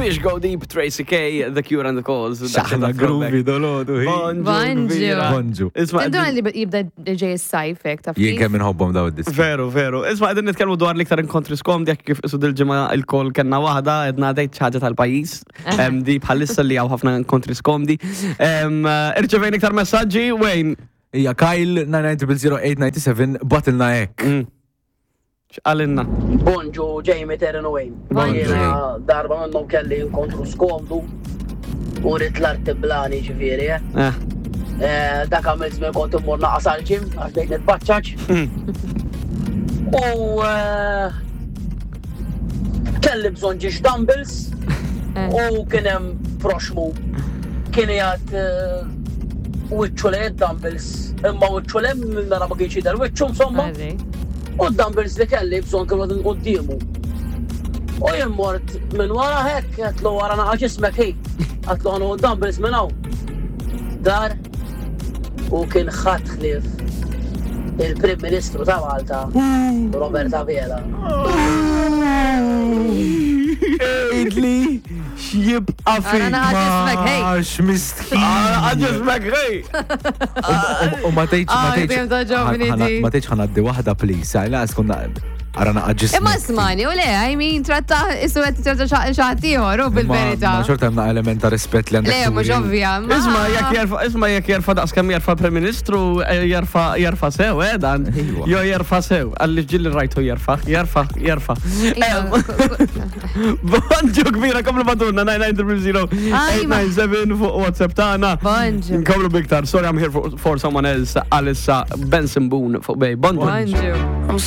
Fish Go Deep, Tracy K, The Cure and the Cause. Xaħna groovy dolodu. Bonġu. Bonġu. Isma' Tinduna li jibda ġej is-sajf hekk taf. Jien kif? kemm inħobbhom daw id-diski. Veru, veru. Isma' qegħdin nitkellmu dwar l-iktar inkontri skomdi jekk kif isu dil-ġimgħa il-kol kellna waħda edna għadejt xi ħaġa tal-pajjiż. Di bħalissa li hawn ħafna inkontri skomdi. Irċevejn iktar messaġġi, Wayne. Ija, Kyle 9900897 batilna hekk. X'qalinna? Bonġu Jamie Terren u Wayne. Bonġu. Jiena darba minnhom kelli inkontru skomdu u rrid l-arti blani ġifieri. Eh. Eh. Eh, dak għamil żmien kont immur naqas għal ġim għax bdejt nitbaċċaċ. U eh, kelli bżonn ġiex dumbbells u kien hemm proxmu kien jgħad wiċċu lejn dumbbells imma wiċċu lejn mela ma kienx jidher wiċċu insomma. U d-dumbbells li kelli bżonn kienu qegħdin quddiemu. U jien mort minn wara hekk, għedtlu wara naqa' ġismek hi. Għedtlu ħa nieħu d-dumbbells minn hawn. Dar u kien ħadd ħlief il-Prim Ministru ta' Malta, Robert Abela. Għidli x'jibqa' Ara fik. naqa' ġismek, hey. Għax mistħin. Ara ġismek, hey. U ma tgħidx ma Ah, tgħidx dejjem togħġobni di. ma tgħidx ħanaddi waħda please, għaj laqas konna ara naqa' ġismek. Imma smani, u le, I mean, tratta isu għed tratta xaħat ieħor, u bil-verità. Ma xorta hemm element ta' rispett li għandek. Le, mhux turi. ovvja. ma- Isma jekk jerfa, isma jekk jerfa daqs kemm jerfa Prim Ministru, eh, jerfa jerfa sew, eh dan. Ejwa. Jo jerfa sew, għalli ġilli rajtu jerfa, jerfa, jerfa. Iva, Bonġu kbira, komplu batunna 990 Ajma. 897 fuq WhatsApp tagħna. Bonġu. Nkomplu biktar, sorry I'm here for someone else, għalissa Benson Boone fuq bej. Bonġu. Bonġu.